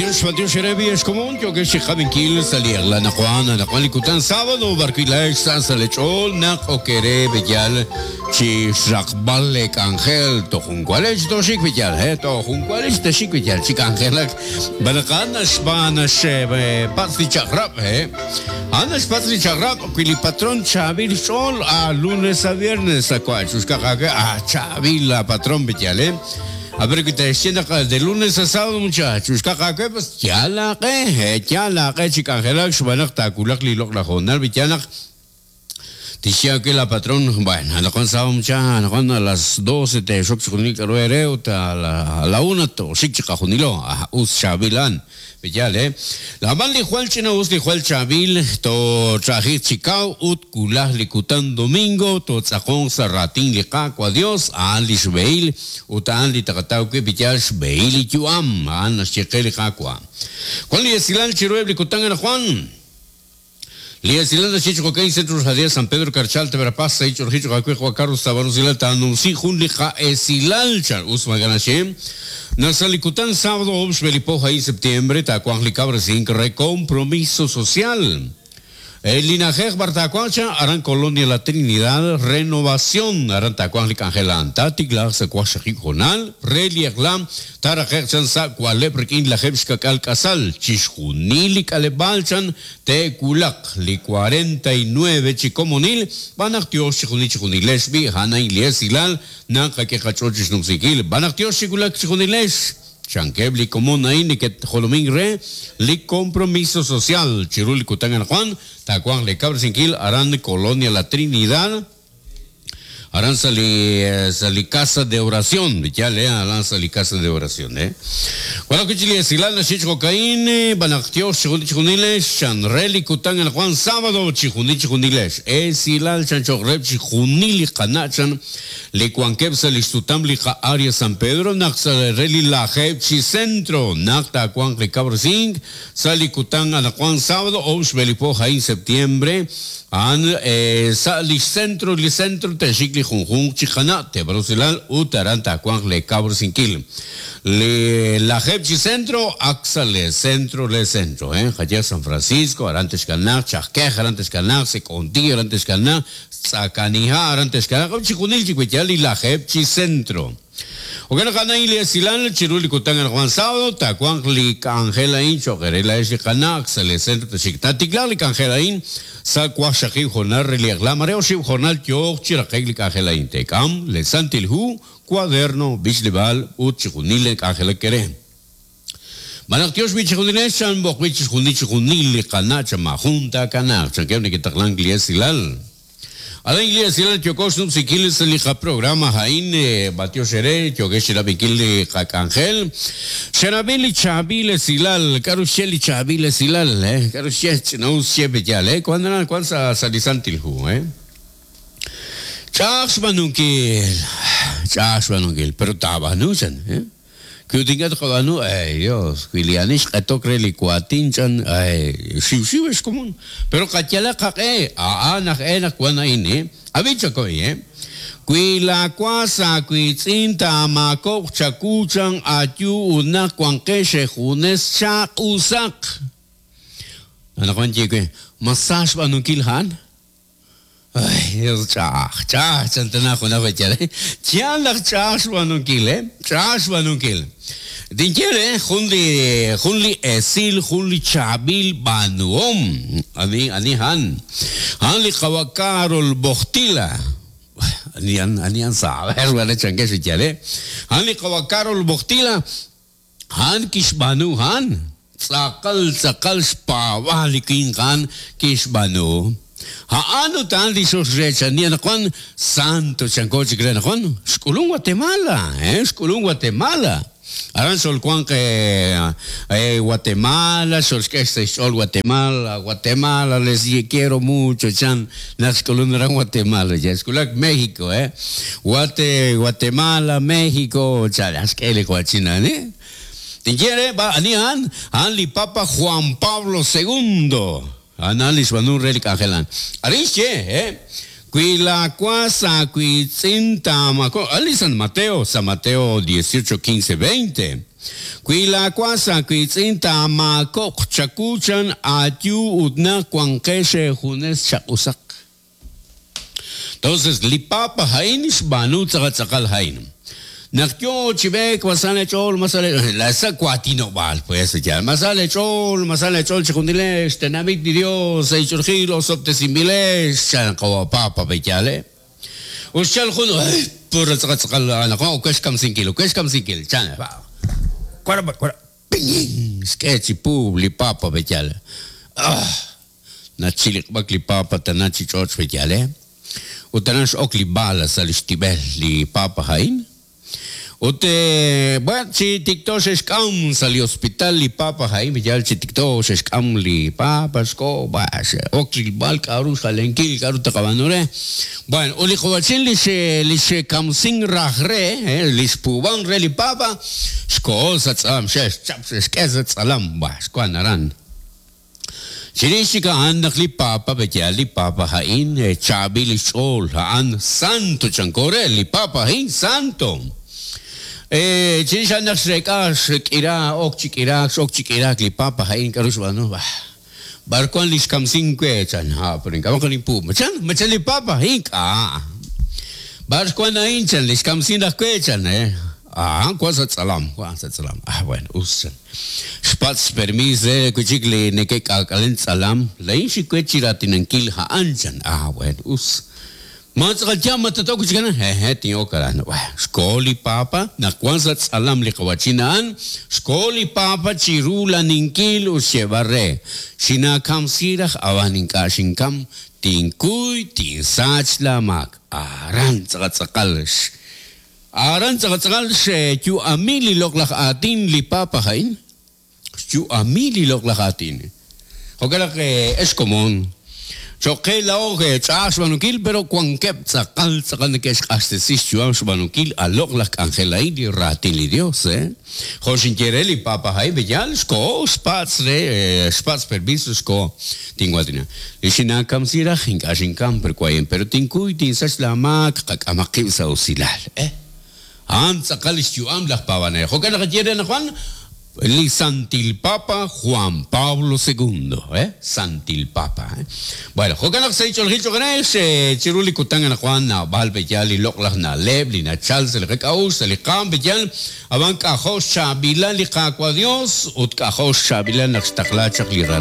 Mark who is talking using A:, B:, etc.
A: B'antiox, b'antiox eere b'iex komon yookex chi qab'inkil sa' li eq'la anaqwan, anaqwan li kutan sábado b'arwi' laa'ex sa' sa' lee ch'ool naq ok eere b'eyal chi xraqb'al lee k'anjel toj jun walex tooxik b'eyal, he, toj jun walex texik b'eyal chi k'anjelak b'an naq a'an naxb'aan naxpatz' li chaq'rab', he. A'an naxpatz' li chaq'rab' wi li patron chaab'il xch'ool a lunes a viernes sa' wa' chuxkaq aawe a chaab'il la patron b'eyal, he. A ver, wi te'xye naq de lunes a sábado muchacho, xkaq aawe, pues yaal aaq'e, yaal aaq'e chi k'anjelak xb'aan naq taawulaq li loq'laj hoonal, wi yaal naq tixye aawe la patrón, bueno, anaqwan sábado mucha, anaqwan a las 12 teexok chixjunil k'a'ru eere ut a la una tooxik chiqajunilo, ah, us chaab'il a'an. Yaal, eh? Ab'an li jwal ch'ina'us, li jwal chaab'il, tooch'a'ajiq chi kaw ut wulaj li kutan domingo tootz'aqonq sa' raatin li Qaawa' Dios, a'an lix b'ehil ut a'an li taqataw wi' li yaal xb'ehil li yu'am, a'an naxye qe li Qaawa'. Wan li esilal chiruheb' li kutan anaqwan. Li esilal naxye chi jo'kan Centro Radial San Pedro Carchá, Alta Verapaz, sa' ich'olji cho'q aawe Juan Carlos Tabar usilal taanumsi jun li qa'esilal chan us maak'a' naxye naq sa' li kutan sábado oob' xb'e li po a'in septiembre taawanq li kawresink re compromiso social. Li na'ajej b'ar taawanq chan aran Colonia La Trinidad, Renovación, aran taawanq li k'anjel a'an taatiklaaq sa' waqxaqib' hoonal re li eq'la Taaraqe'q chan sa' wa'leb' rik'in lajeeb' xka'k'aal k'asal, chixjunil li k'aleb'aal chan te'wulaq li 49 chi komonil, b'an naq tyox chixjunil chixjunilex b'i' a'an a'in li esilal naq qak'e qach'ool chi xnumsinkil, b'an naq tyox chi wulak chixjunilex, chankeb' li komon a'in neke'jolomink re li Compromiso Social chiru li kutan anaqwan taawanq li kawresinkil aran Colonia La Trinidad. Aran sa' li sa' li casa de oración, yaal eh, aran sa' li casa de oración eh. Wan ajwi' chi li esilal naxye chi jo'ka'in, b'an naq tyox chixjunil chixjunilex, chan re li kutan anaqwan sábado chixjunil chixjunilex. Esilal chan cho'q reheb' chixjunil li qana' chan li wankeb' sa' li xsutam li qa'área San Pedro naq sa' re li lajeeb' chi centro naq taawanq li kawresink Sa' li kutan anaqwan sábado oob' xb'e li po a'in septiembre, a'an sa' li xcentro li centro te'xik li junjunq chi qana' teeb'al usilal ut aran taawanq lee kawresinkil. Li lajeeb' chi centro ak sa' le centro le centro, eh, qayehaq San Francisco aran texkanaaq, Chajkej aran texkanaaq, Sek'onti aran texkanaaq, Tz'akaniha' aran texkanaaq, ut chixjunil chi weyal li lajeeb' chi centro. Jo'kan naq a'an a'in li esilal chiru li kutan anaqwan sábado, taawanq li k'anjel a'in cho'q eere laa'ex li qana' sa' lee centro texxik. Taatiklaaq li k'anjel a'in sa' waqxaqib' hoonal re li eq'la, mare oxib' hoonal yooq chi raqe'k li k'anjel a'in. Teek'am lee Santil Hu, cuaderno, b'ichleb'aal ut chixjunil li k'anjelak eere. Malaj tyox b'i' chixjunilex chan b'oqb'il chixjunil chixjunil li qana' chan maajun taakanaaq, chankeb' neke'taqlank li esilal. Aran li esilal yooko xnumsinkil sa' li qaprograma a'in, b'antiox eere yookex chirab'inkil li qak'anjel. Xerab'i li chaab'il esilal, k'a'ru xye li chaab'il esilal, eh? K'a'ru xye? Ch'ina'us xye pe yaal, eh? Wan aran, wan sa' sa' li Santil Hu, eh? Ch'a'aj xb'aanunkil, ch'a'aj xb'aanunkil, pero taab'aanu chan, eh? Wi ut ink'a' tqab'aanu, ay Dios, wi li ani xq'etok re li waatin chan, ay, xiwxiw ex komon. Pero qayalaq qaq'e, a'an aj e naq wan a'in, eh. Ab'i chakoy, eh. Wi laawas aawiitz'in taamaakob'q chawu chan ayu ut naq wanqex eejunes chaq'usaq. Anaqwan ye we, ma sa xb'aanunkil a'an? Ay, Dios, ch'a'aj, ch'a'aj, chan tana junaq b'echal, eh. Yaal naq ch'a'aj xb'aanunkil, eh. Ch'a'aj xb'aanunkil. Tinye re jun li, jun li esil, jun li chaab'il b'aanuhom. Ani, ani a'an? A'an li Qawa' Karol Wojtyla. Ani a'an, ani a'an saber, b'ale chankex li yaal, eh. A'an li Qawa' Karol Wojtyla. A'an kixb'aanu a'an, tz'aqal tz'aqal xpaab'aal li winq a'an kixb'aanu. A'an ut a'an li xoxreechani anaqwan, santo chanko chik re anaqwan, xk'ulun Guatemala, eh, xk'ulun Guatemala. Aran xolwanq Guatemala, xolxk'e sa' xch'ool Guatemala, Guatemala les quiero mucho chan naq xk'ulun aran Guatemala, ya xk'ulak México, eh. Guate, Guatemala, México, chan xk'e li qawa'chin a'an, eh. Tinye re, b'a, ani a'an? A'an li Papa Juan Pablo Segundo. A'an a'an li xb'aanu re li k'anjel a'an. Arin xye, eh. Wi laawas aawiitz'in taamako, a'an li San Mateo, San Mateo 18, 15, 20. Wi laawas aawiitz'in taamaakob'q chawu chan aayu ut naq wanqex eejunes chaq'usaq. Entonces, li Papa a'in xb'aanu tz'aqal tz'aqal a'in. Naq yoo chi b'eek, ma sa leech'ool, ma sa leech'ool, la sa' waatinob'aal, pues, yaal, ma sa leech'ool, ma sa leech'ool chejunilex, xtenamit li Dios, sa' ich'oolejil osob'tesinb'ilex, chan qawa' Papa, pe'yaal, eh? Ut xchal jun, ay, puro tz'aqal tz'aqal, anaqwan ok we xkamsinkil, ok we xkamsinkil, chan, wara, wara, ping, xk'e chi puub' li Papa, pe'yaal. Ah! Nachiliq'b'ak li Papa tana chi ch'och' pe'yaal, eh? Ut aran x'ok li bala sa' li xtib'el li Papa a'in. Ut, bueno, chi tikto xe'xk'am sa' li hospital li Papa a'in, pe'yaal chi tikto xe'xk'am li Papa, xko, bah, xe'ok rilb'al k'a'ru xjalenkil, k'a'ru taqab'aanu re. Bueno, ut li qawa'chin li xe, li xe'kamsink raj re, eh, li xpuub'ank re li Papa, xkoho sa' tz'alam, xe'xchap, xe'xk'e sa' tz'alam, bah, xwank aran. Chirix chik a'an naq li Papa, pe'yaal li Papa a'in chaab'il li xch'ool, a'an santo chanko re, li Papa a'in santo. Chirix a'an naq xreek'a xk'ira, ok chi k'iraak, x'ok chi k'iraak li Papa a'in, k'a'ru xb'aanu? Bah, b'ar wan li xkamsink we? chan. Ha, pero ink'a' moko ninpuub'. Ma chan? Ma chan li Papa? Ink'a'. B'ar wan a'in? chan, li xkamsink raj we, chan. A'an wan sa' tz'alam, wan sa' tz'alam. Ah, bueno, us, chan. Xpatz' xpermiis re wi' chik li neke'k'aak'alen tz'alam, Laa'in xik we chi raatinankil a'an, chan. Ah, bueno, us. Ma tz'aqal yaal ma tat-ok wi' chik aran? Hehe', tin'ok aran. Bueno, xkoho li Papa, naq wan sa' tz'alam li qawa'chin a'an, xkoho li Papa chi rulaninkil ut xyeeb'al re, Xinaakamsi raj ab'an ink'a' xinkam, tinkuy, tinsach laamaak. Aran tz'aqal tz'aqal Aran tz'aqal tz'aqal xyu'ami li loq'laj aatin li Papa a'in, xyu'ami li loq'laj aatin. Jo'kan naq ex komon, cho'q qe laa'o ch'a'aj xb'aanunkil pero wankeb' tz'aqal tz'aqal neke'xq'axtesi xyu'am xb'aanunkil a loq'laj k'anjel a'in li raatin li Dios. Jo' xinye re li Papa a'in, pe'yaal xkoho xpatz' re xpatz' permiso xkoho tinwaatina. Li xinaakamsi raj ink'a' xinkam per wayen, pero tinkuy tinsach laamaak, qak'amaq qib' sa' usilal. Eh! A'an tz'aqal li xyu'am laj paab'anel. Jo'kan naq ye re anaqwan li Santil Papa Juan Pablo Segundo. Eh! Santil Papa. Eh! Bueno, jo'kan naq sa' li ch'oolejil cho'q re, chiru li kutan anaqwan naab'al pe'yaal li loq'laj na'leb' li nachal sa' li qak'a'uxl, sa' li qaanm pe'yaal, ab'an k'ajo' xchaab'ilal li Qaawa' Dios ut k'ajo' xchaab'ilal naq xtaqla chaq li Ralal.